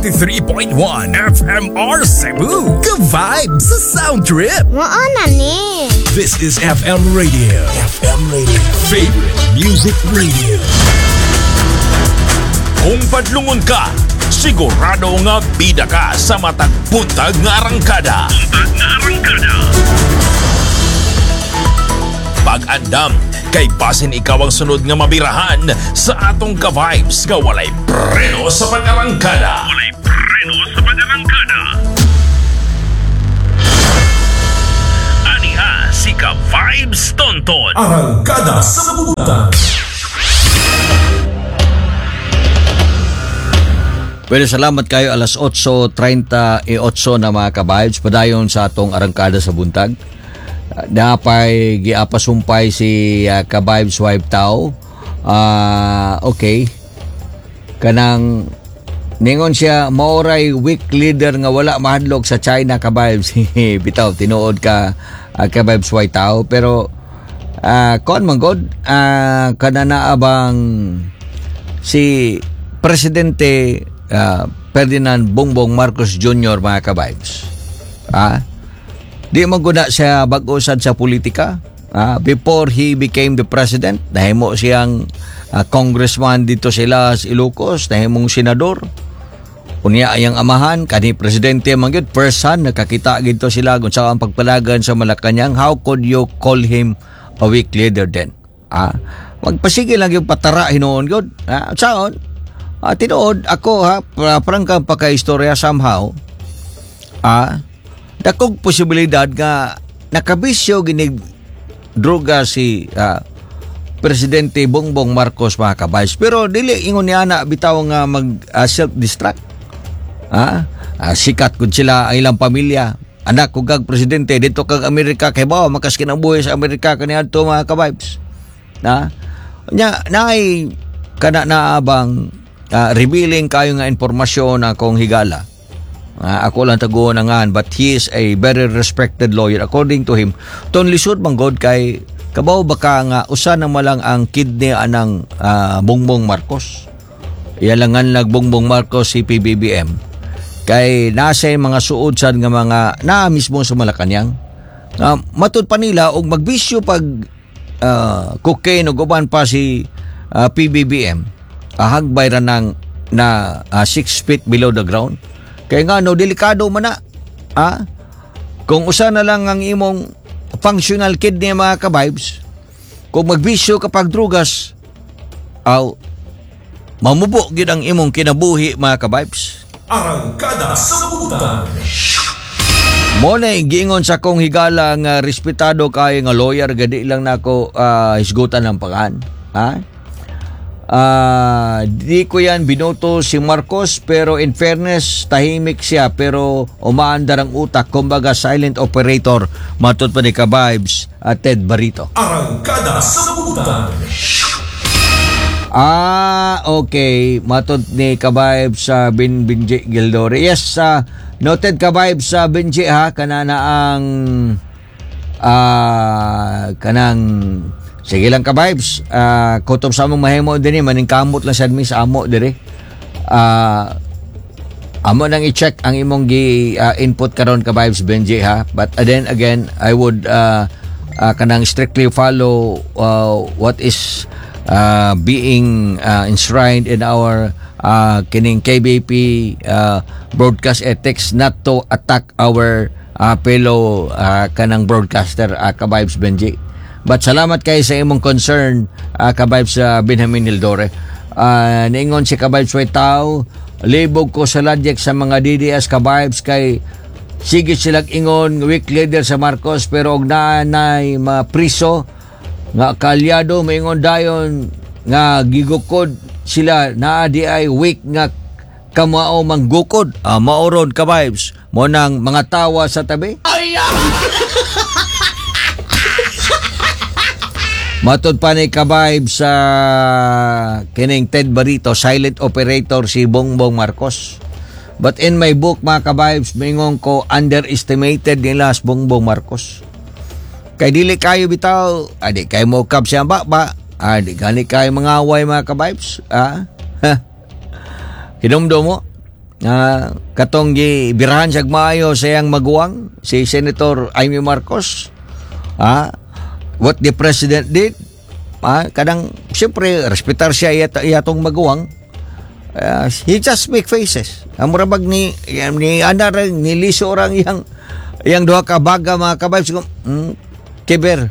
93.1 FMR Cebu. Good vibes sa Sound Trip. Mao na ni. This is FM Radio. FM Radio. Favorite Music Radio. Kung padlungon ka, sigurado nga bida ka sa matag buntag nga arangkada. Pag-andam, kay basin ikaw ang sunod nga mabirahan sa atong ka-vibes nga walay preno sa pag-arangkada. Walay preno sa pag-arangkada. Aniha si Ka-Vibes Tonton. Arangkada sa Buntag. Pero salamat kayo, alas 8:38 na, mga ka-vibes. Padayon sa atong arangkada sa buntag. Napay giapasumpay si ka-vibes wife tao. Okay. Kanang ningon siya maoray weak leader nga wala mahadlok sa China, ka-vibes. Bitaw, tinuod ka, ka-vibes white tao, pero kuan man god, kanana abang si Presidente Ferdinand Bongbong Marcos Jr., mga ka-vibes. Di man guna siya bag-o sad sa politika. Before he became the president, nahimo siyang congressman dito sila sa Ilocos, nahimong senador. Unya ayang amahan kani presidente man gyud first son, nakakita gito sila kung sa ang pagpalagan sa Malacañang. How could you call him a weak leader then? Magpasige lang yung patara hinuon gyud. Saon? Tinuod ako ha, prangkang pagka-istorya, somehow dakog posibilidad nga nakabisyo ginig droga si Presidente Bongbong Marcos, mga ka-vibes. Pero dili ingon ni ana bitaw nga mag self-destruct. Sikat kun sila ang ilang pamilya. Anak ko kag presidente dito kag Amerika, kay ba makas kinabuhi sa Amerika kaniadto, mga ka-vibes. Na nya naay kana naabang revealing kayo nga impormasyon akong higala. Ako lang taguon ang, but he is a very respected lawyer. According to him, ton lisod man god kay kabaw baka nga usa na malang ang kidney anang Bongbong Marcos. Iyalangan nag Bongbong Marcos si PBBM. Kay nasa mga suod sad nga mga naa mismo sa Malacañang. Matud pa nila og magbisyo pag cocaine ug uban pa si PBBM, hagbay ra nang na 6 feet below the ground. Kay nga no, delikado man na. Kung usa na lang ang imong functional kidney, mga ka-vibes, kung magbisyo kapag drugas, aw, mamubo gid ang imong kinabuhi, mga ka-vibes. Arangkada sa Buntag. Mo na giingon sa akong higala nga respetado kayo nga lawyer, gadi lang nako hisgutan ng pangan. Ha? Di ko yan binoto si Marcos, pero in fairness, tahimik siya pero umaandar ang utak, kumbaga silent operator, matud pa ni ka-vibes at Ted Barito. Arangkada sa Buntag. Okay. Matod ni ka-vibes sa Bin Benji Gildore. Yes, noted, ka-vibes sa Benji ha, kanana ang kanang sige lang, ka-vibes. Kutob sa among mahimo dinhi, maningkamot lang sad mi sa amo dire. Amo nang i-check ang imong gi input karon, ka-vibes Benji ha. But then again, I would kanang strictly follow what is being enshrined in our kining KBP broadcast ethics, not to attack our fellow kanang broadcaster, ka-vibes Benji. But salamat kay sa imong concern, ka-vibes Benjamin Hildore. Niingon si ka-vibes Tao, libog ko sa ladyek sa mga DDS, ka-vibes, kay sige silang ingon weak leader sa Marcos, pero og naanay mga priso nga kalyado, maingon dayon nga gigukod sila, naa di ay weak nga kamao manggukod. Maoron, ka-vibes, mo nang mga tawa sa tabi. Matod pa ni ka-vibes sa kining Ted Barito, silent operator si Bongbong Marcos. But in my book, mga ka-vibes, mingon ko underestimated nila si Bongbong Marcos. Kay dili kayo bitaw, adi kayo mo kap siya ba ba, adi gani kayo mga away, mga ka-vibes. Hinumdum mo. Katong gibirahan siya maayo sa iyang maguwang, si Senator Imee Marcos. What the president did, kanang siyempre respetar siya iyatong maguwang. He just make faces. Ang murabag ni ana rang ni liso rang iyang iyang duha ka baga, mga ka-vibes, kiber.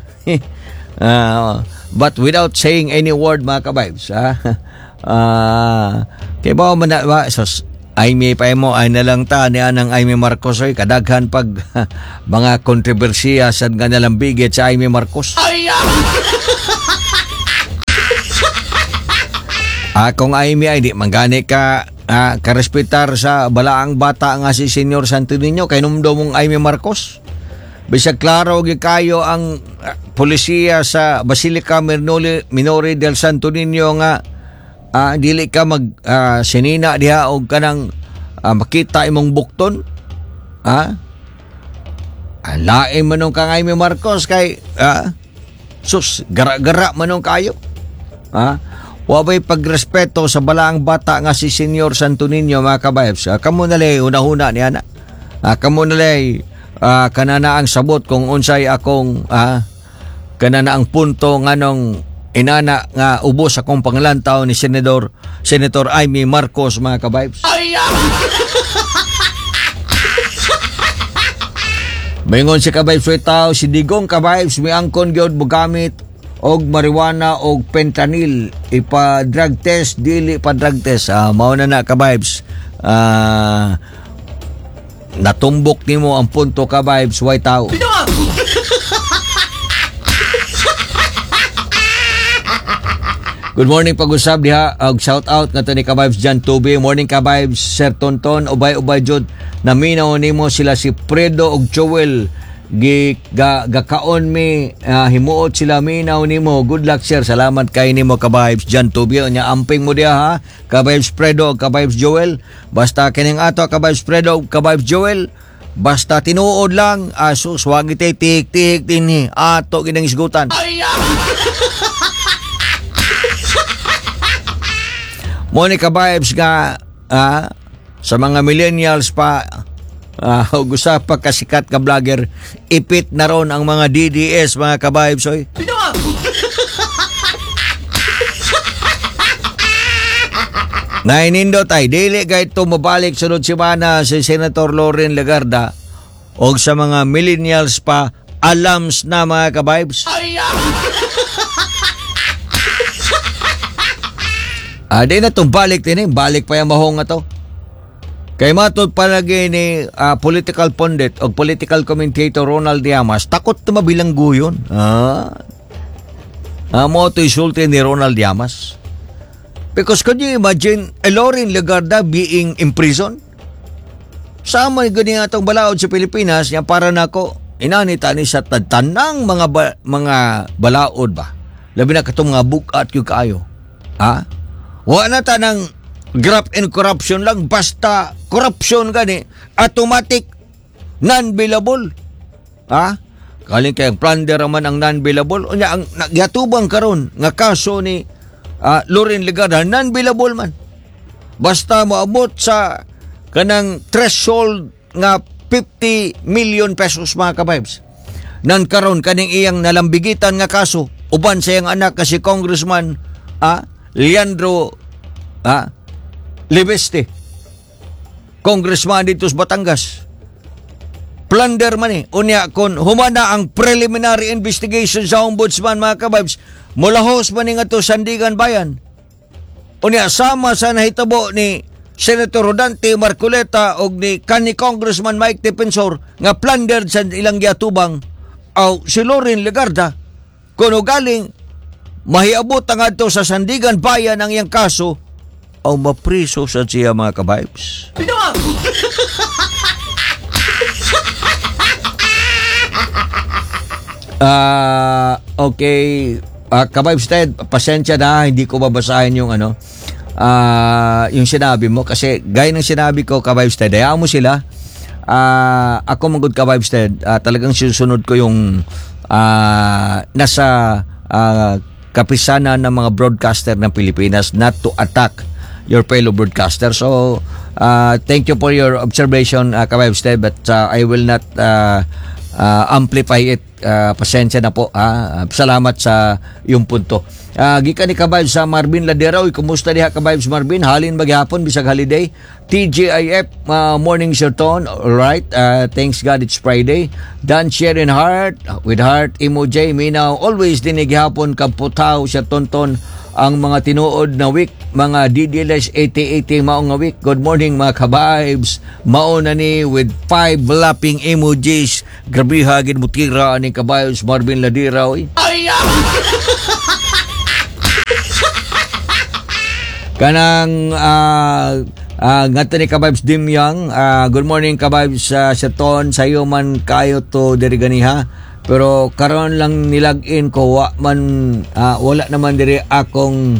But without saying any word, mga ka-vibes. Kay ba man na ba sos Imee pa mo ay nalang ta ni anang Imee Marcos oy, kadaghan pag mga kontrobersiya sa nga nalambigit sa Imee Marcos. Kung Imee ay di manggani ka karespetar sa balaang bata nga si Senyor Santo Niño, kay numdo mong Imee Marcos. Bisag klaro gyud kayo ang polisiya sa Basilica Minore del Santo Niño nga dili ka mag sinina diha og kanang makita imong bukton. Lain man nung kang Imee Marcos kay sus, gara-gara man nung kayo. Wa ba'y pagrespeto sa balaang bata nga si Senyor Santo Niño, mga ka-vibes? Kamo na lay una-una niya na. Kamo na lay kanana ang sabot kung unsay akong kanana ang punto nganong inana nga ubos akong panglantaw ni Senator Imee Marcos, mga ka-vibes. Maingon si ka-vibes tao, si Digong, ka-vibes, miangkon gyud mogamit og marijuana og fentanyl, ipa drug test dili pa drug test. Mao na na, ka-vibes. Natumbok nimo ang punto, ka-vibes way tao. Good morning pag-usab diha og shout out ngadto ni ka-vibes John Tubi. Morning, ka-vibes Sir Tonton, ubay-ubay jud naminaw nimo sila si Fredo og Joel, gi ga, gakaon mi himuot sila minaw nimo. Good luck, sir. Salamat kay nimo, ka-vibes John Tubi. Nya amping mo diha ha, ka-vibes Fredo, ka-vibes Joel. Basta kining ato, ka-vibes Fredo, ka-vibes Joel, basta tinuod lang, asus wag tik tik dinhi ato ginang isgutan. Mo ni, ka-vibes, nga sa mga millennials pa ug usa pa kasikat ka vlogger, ipit na ron ang mga DDS, mga ka-vibes oy. Nainindot ay dili kay ito mabalik sunod semana si Senator Loren Legarda, og sa mga millennials pa, alams na, mga ka-vibes. Di na itong balik din eh. Balik pa yung mahong nga to. Kay matod palagi ni political pundit o political commentator Ronald Llamas, takot na mabilanggo yun. Mo ito isulti ni Ronald Llamas. Because could you imagine Loren Legarda being imprisoned? Sama ganyan atong balaod sa Pilipinas, niya para nako inanita ni sa tanang mga balaod ba. Labi na katong mga bukat yung kaayo. Ha? Wa na tanang graft and corruption lang, basta corruption gani automatic non-bailable. Ha? Kaling kay ang plunder man ang non-bailable. Unya ang nagyatubang karon nga kaso ni Loren Legarda, non-bailable man. Basta moabot sa kanang threshold nga 50 million pesos, mga ka-vibes. Nan karon kaning iyang nalambigitan nga kaso uban sa iyang anak kasi Congressman Leandro Leviste, congressman dito sa Batangas. Plunder man eh. Unya kon humana ang preliminary investigation sa ombudsman, mga ka-vibes, mulahos man ni nga to Sandigan Bayan. Unya sama sa nahitabo ni Senator Rodante Marcoleta og ni kanhi Congressman Mike Defensor nga plundered sa ilang giatubang aw si Loren Legarda, kuno galing mahiabot ang adto sa Sandigan Bayan ang iyang kaso aw mapriso sa siya, mga ka-vibes. Okay. Ka-vibes Ted, pasensya na, hindi ko babasahin yung ano, yung sinabi mo kasi gaya ng sinabi ko, ka-vibes Ted, hayaan mo sila. Ako man gud, ka-vibes Ted, talagang sinusunod ko yung nasa kapisanan ng mga broadcaster ng Pilipinas not to attack your fellow broadcaster. So, Thank you for your observation, Ka-Vibes Ted, but I will not amplify it. Pasensya na po. Ha? Salamat sa iyong punto. Gikan ni Ka-Vibes sa Marvin Ladera. Uy, kumusta diha, Ka-Vibes Marvin? Halin ba gihapon bisag holiday? TGIF, morning, Sir Ton. Alright. Thanks God it's Friday. Dan Sharon Heart with heart emoji. Minaw always din gihapon kamputaw, Sir Tonton, ang mga tinuod na week, mga DDLS 8080 mao nga week. Good morning, mga ka-vibes, mao na ni with five laughing emojis. Grabiha gid mutira ani Ka-Vibes Marvin Ladira, oy. Kanang ngadto ni Ka-Vibes Dimyang, good morning, Ka-Vibes Sir Ton, sayo man kayo to diri ganiha. Pero karon lang nilag-in ko, wa man wala naman diri akong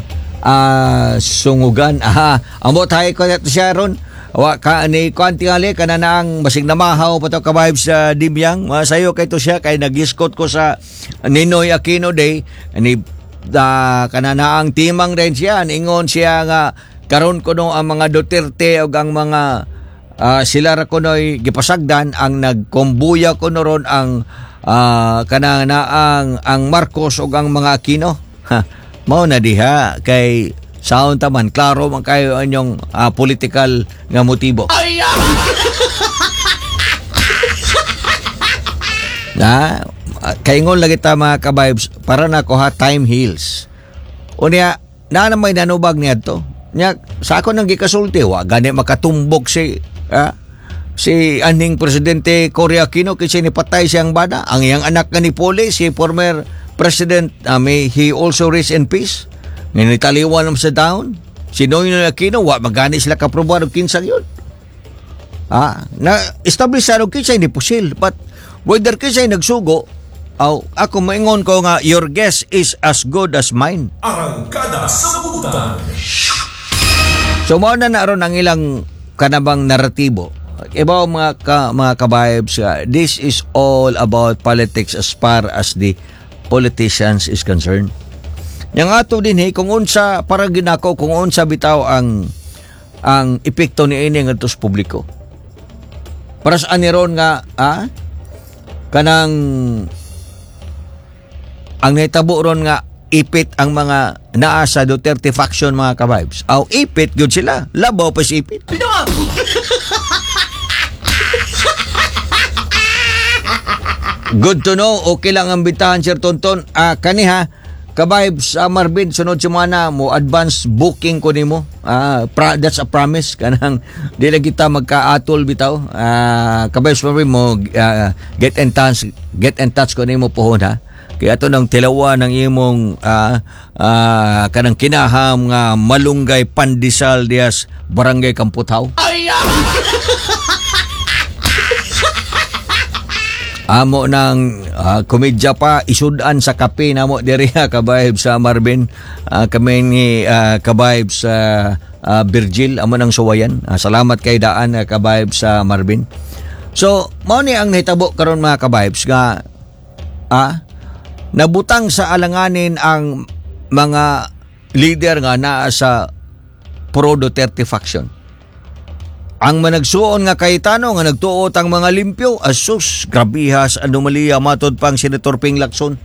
sungugan. Aha, ambot hay ko to siya ron. Wa ka ni kuan tingali kana na ang basig namahaw pa to, Ka-Vibes sa Dimyang. Masayo kay to siya kay nagiskot ko sa Ninoy Aquino Day ni kana na ang timang rin siya, ingon siya nga karon kuno ang mga Duterte ug ang mga sila ra kunoy gipasagdan ang nagkombuya kuno ron ang kana na ang Marcos ug ang mga Aquino. Ha, mao na diha kay saon ta man, klaro man kayo ang inyong political nga motibo. Na kaingon lagi ta, mga ka-vibes, para na ko ha, time heals. Unya na na may nanubag niadto nya sa ako nang gikasulti, wa gani makatumbok si anhing presidente Cory Aquino kasi nipatay siyang bana, ang iyang anak nga ni Poli, si former president, may he also rest in peace, nga nitaliwan naman sa down si Noynoy Aquino, wa magani sila kaprobar og kinsa yun. Na establish sa og kinsa ni pusil, but whether kinsa nagsugo, aw, ako maingon ko nga your guess is as good as mine. Arangkada sa Buntag. So mao na ron ang ilang kanabang naratibo. Iba mga ka-vibes, this is all about politics as far as the politicians is concerned. Yang ato din eh, kung unsa para ginako kung unsa bitaw ang epekto ni ini ngadto sa publiko. Para sa aniron nga kanang ang nahitabo ron nga ipit ang mga naa sa Duterte faction, mga ka-vibes. Aw, ipit gyud sila. Labaw pa si ipit. Good to know. Okay lang ang bintahan, Sir Tonton. Kaniha, ka-vibes, Marvin, sunod semana mo advance booking ko nimo. That's a promise. Kanang di lang kita magkaatol bitaw. Ka-vibes Marvin mo get in touch ko nimo pohon ha. Kaya ato nang tilawa ng imong kanang kinaham nga malunggay pandesal dias Barangay Kamputhaw. Amo nang komedya pa isudan sa kape namo diri ha, ka-vibes sa Marvin. Kami ni ka-vibes sa Virgil amo nang suwayan. Salamat kay daan, ka-vibes sa Marvin. So mao ni ang nahitabo karon, mga ka-vibes, nga nabutang sa alanganin ang mga leader nga naa sa pro Duterte faction. Ang managsuon nga Cayetano nga nagtuot ang mga limpyo, asus, grabihas anomalya matod pang Senator Ping Lacson.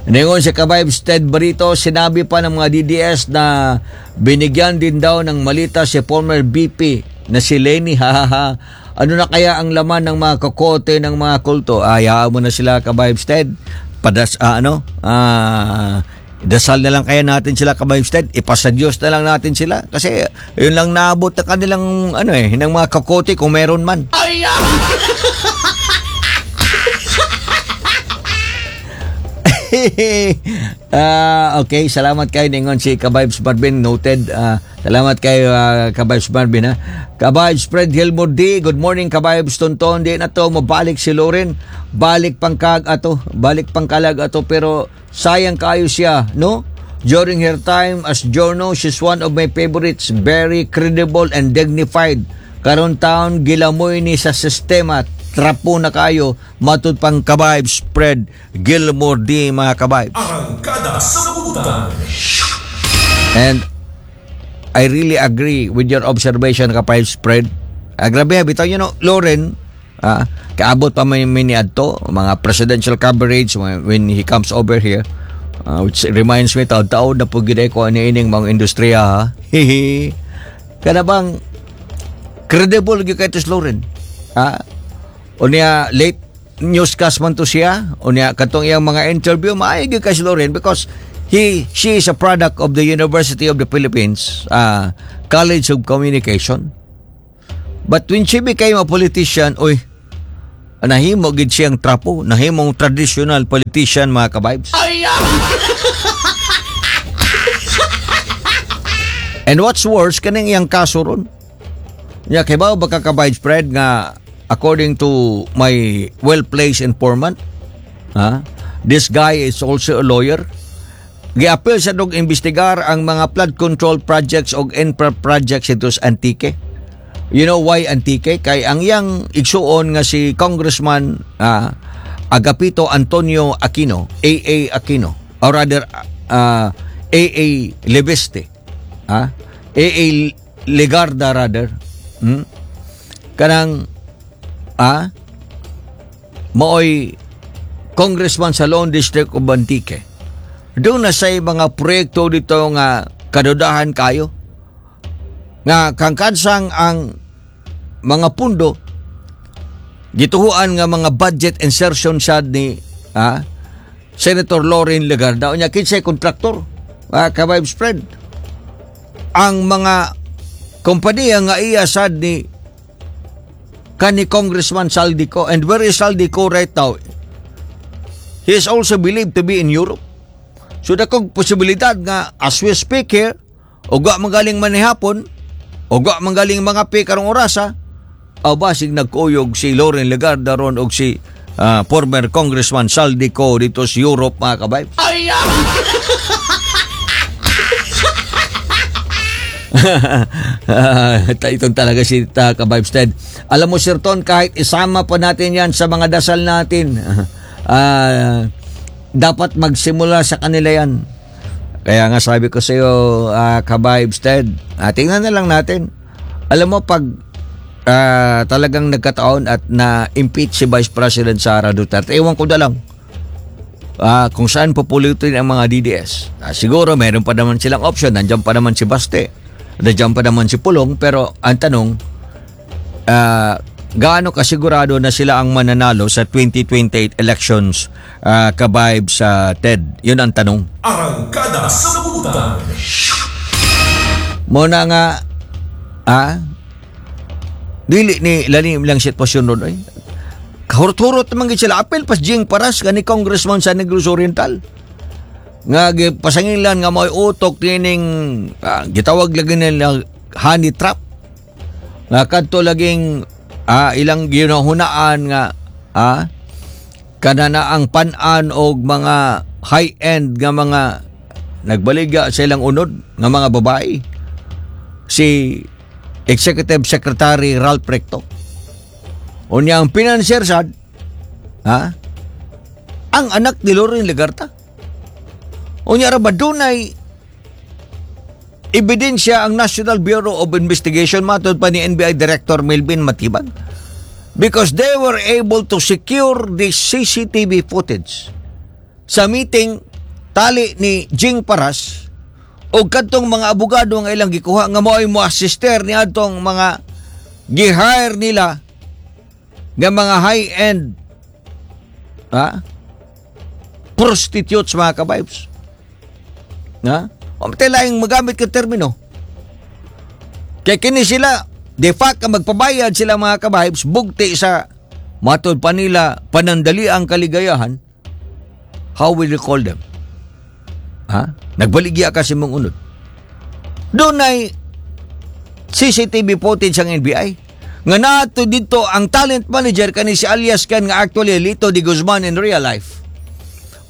Ningon si Ka-Vibes Ted Barito, sinabi pa ng mga DDS na binigyan din daw ng malita si former VP na si Leni. Ha ha ha. Ano na kaya ang laman ng mga kokote ng mga kulto? Hayaan mo na sila, Ka-Vibes Ted. Padas, ano? Dasal na lang kaya natin sila, Ka-Vibes Ted. Ipasa Diyos na lang natin sila. Kasi yun lang naabot na kanilang ano eh, ng mga kokote kung meron man. Okay, salamat kay ningon si Ka-Vibes Marvin, noted. Salamat kay Ka-Vibes Marvin ha. Ka-Vibes Fred Hilmore D, good morning, Ka-Vibes Tonton. Di na to mabalik si Loren. Balik pangkag ato, balik pangkalag ato, pero sayang kayo siya, no? During her time as journo, she's one of my favorites, very credible and dignified. Karon taon gilamoy ni sa sistema, trapo na kayo, matud pang Ka-Vibes Fred Gilmore D, mga ka-vibes. Arangkada sa Buntag. And I really agree with your observation, ka-Vibes Fred. Grabe, bitaw, Loren, kaabot pa may mini adto, mga presidential coverage when he comes over here. Which reminds me, taon-taon na po gid ko ani ining mga industriya, ha. Hihi. Kana bang credible gyud kay to si Loren. Ha? Unya late newscast man to siya. Unya katong iyang mga interview, maayo gyud kay si Loren because he she is a product of the University of the Philippines, College of Communication. But when she became a politician, oy, nahimo gid siyang trapo, nahimong traditional politician, mga ka-vibes. And what's worse, kaning iyang kaso ron. Nya kay ba ka, ka-vibes Fred, nga according to my well-placed informant, ha, this guy is also a lawyer. Giapil sa dog imbestigar ang mga flood control projects og infra projects ito sa Antique. You know why Antique? Kay ang iyang igsuon nga si Congressman Agapito Antonio Aquino, AA Aquino, or rather AA Leviste, AA Legarda rather, Kanang maoy congressman sa Lone District of Antique. Doon na say mga proyekto dito nga kadudahan kayo nga kangkansang ang mga pundo gituhuan nga mga budget insertion sad ni Senator Loren Legarda. Unya kinsay kontraktor, ka-Vibes Fred? Ang mga kompanya nga iya sad ni kani Congressman Zaldy Co. And where is Zaldy Co right now? He is also believed to be in Europe. So dakong posibilidad nga as we speak here, ug wa magaling manihapon, ug wa magaling mga pi karong orasa, aw basig nagkuyog si Loren Legarda ron og si former Congressman Zaldy Co dito sa Europe, mga ka-vibes. Ay! Itong talaga si ka-Vibes Ted. Alam mo, Sir Ton, kahit isama pa natin yan sa mga dasal natin, dapat magsimula sa kanila yan. Kaya nga sabi ko sa iyo, ka-Vibes Ted, tingnan na lang natin. Alam mo, pag talagang nagkataon at na-impeach si Vice President Sara Duterte, ewan ko na lang kung saan pupulutin ang mga DDS. Siguro meron pa naman silang option. Nandiyan pa naman si Baste. Nandiyan pa naman si Pulong. Pero ang tanong, gaano kasigurado na sila ang mananalo sa 2028 elections, ka-Vibes sa Ted? Yun ang tanong. Arangkada sa Buntag. Muna nga, dili ni lalim lang sitwasyon ron, ay. Kahurot-hurot naman gid sila. Apil pas Jing Paras gani congressman sa Negros Oriental. Nga pasangilan nga may utok tining gitawag lagi nila honey trap. Nga kadto laging ilang ginahunaan nga kanana ang pan-an og mga high-end nga mga nagbaligya sa ilang unod nga mga babae. Si Executive Secretary Ralph Recto. Unya ang financier sad, ang anak ni Loren Legarda. Unya ra ba dunay ebidensya ang National Bureau of Investigation matod pa ni NBI Director Melvin Matibag? Because they were able to secure the CCTV footage sa meeting tali ni Jing Paras o kadtong mga abogado nga ilang gikuha nga mao'y mo-assister ni adtong mga gi-hire nila nga mga high-end prostitutes, mga ka-vibes. Ha? O laing magamit ka termino. Kaya kini sila, de facto magpabayad sila, mga ka-vibes, bugti sa matod pa nila panandali ang kaligayahan, how will you call them? Ha? Nagbaligya ka sa imong unod. Doon ay CCTV footage ang NBI. Nga nato dito ang talent manager kani si alias Ken nga actually Lito de Guzman in real life.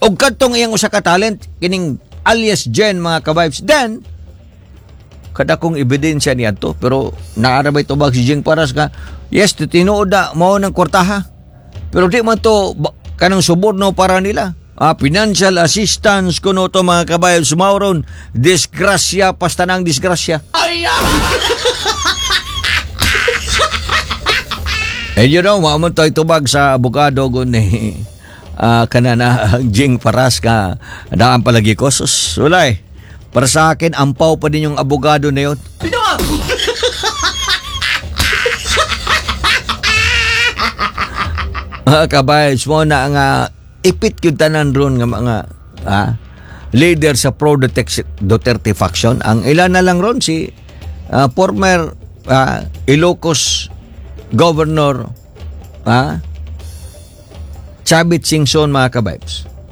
Og kadtong iyang usa ka talent kining alias Jen, mga ka-vibes. Then kada kong ebidensya niya to, pero naarabay tubag si Jing Paras nga yes, tinuod na mao ng kwartaha. Pero di man to kanang suborno para nila. Financial assistance kuno to, mga ka-vibes, mauron disgrasya pastanang disgrasya. And mao man to'y tubag sa abogado gun ni kanana Jing Paras ka daan palagi ko. Sus, wala eh. Para sa akin, ampaw pa din yung abogado na yun. Mga ka-vibes mo na nga ipit yung tanan ron nga mga leader sa pro Duterte faction. Ang ilan na lang ron si former Ilocos Governor Chavit Singson, mga ka-vibes.